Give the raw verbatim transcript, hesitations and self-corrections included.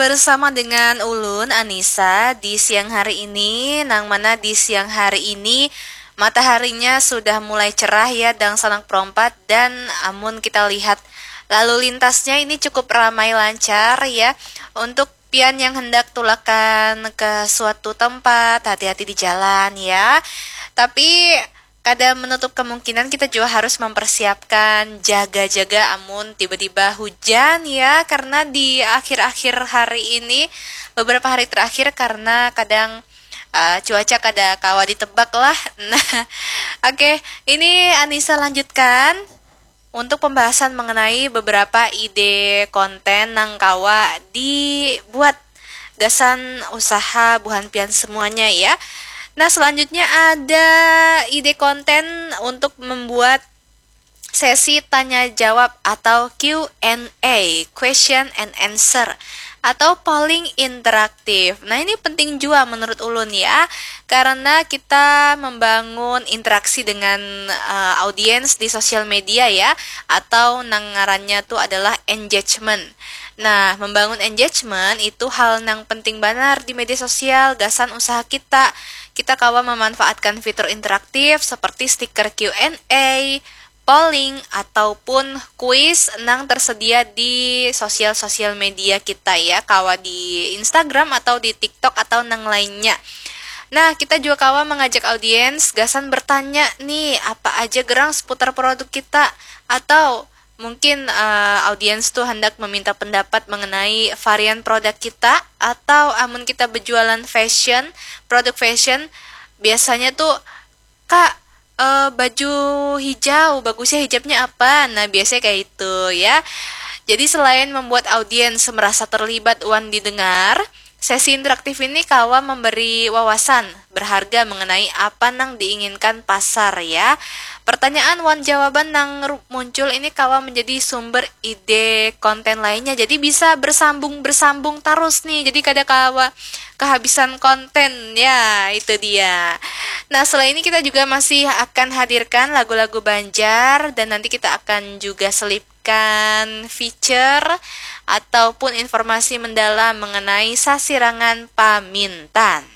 Bersama dengan ulun Anissa di siang hari ini, nang mana di siang hari ini mataharinya sudah mulai cerah ya, dangsanak perompat, dan amun kita lihat lalu lintasnya ini cukup ramai lancar ya. Untuk pian yang hendak tulakan ke suatu tempat, hati-hati di jalan ya. Tapi kada menutup kemungkinan kita juga harus mempersiapkan jaga-jaga amun tiba-tiba hujan ya, karena di akhir-akhir hari ini, beberapa hari terakhir, karena kadang uh, cuaca kada kawa ditebak lah. Nah, oke, okay. Ini Anissa lanjutkan untuk pembahasan mengenai beberapa ide konten nang kawa dibuat gasan usaha buhan pian semuanya ya. Nah, selanjutnya ada ide konten untuk membuat sesi tanya jawab atau Q and A, question and answer, atau polling interaktif. Nah, ini penting juga menurut ulun ya, karena kita membangun interaksi dengan uh, audiens di sosial media ya, atau nang ngarannya tuh adalah engagement. Nah, membangun engagement itu hal nang penting banar di media sosial, gasan usaha kita. Kita kawa memanfaatkan fitur interaktif seperti stiker Q and A, polling, ataupun kuis nang tersedia di sosial-sosial media kita ya, kawa di Instagram atau di TikTok atau nang lainnya. Nah, kita juga kawa mengajak audiens gasan bertanya nih, apa aja gerang seputar produk kita, atau mungkin uh, audiens tuh hendak meminta pendapat mengenai varian produk kita, atau amun kita berjualan fashion, produk fashion, biasanya tuh, "Kak, uh, baju hijau, bagusnya hijabnya apa?" Nah, biasanya kayak itu ya. Jadi selain membuat audiens merasa terlibat wan didengar, sesi interaktif ini kawa memberi wawasan berharga mengenai apa nang diinginkan pasar ya. Pertanyaan wan jawaban nang muncul ini kawa menjadi sumber ide konten lainnya. Jadi bisa bersambung-bersambung terus nih. Jadi kada kawa kehabisan konten ya, itu dia. Nah, selain ini kita juga masih akan hadirkan lagu-lagu Banjar dan nanti kita akan juga selipkan feature ataupun informasi mendalam mengenai sasirangan pamintan.